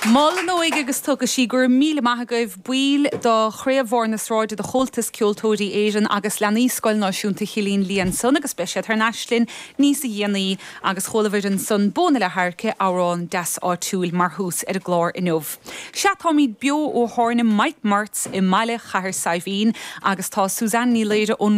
Mol an Óige agus tugadh sí. Go raibh míle maith agaibh, baill de Chraobh Bharr na Sráide de Chomhaltas Ceoltóirí Éireann agus leanaí Scoil Náisiúnta Chillín Liath ansan agus beidh siad thar n-ais linn níos a dhéanaí agus chualabhair ansan Bó na Leath-Adhairce, amhrán deas áitiúil mar thús ar an gclár inniu. Sea, táimid beo ó thábhairne Mike Marts i mbaile Chathair Saidhbhín agus tá Suzanne Ní Laoire ón.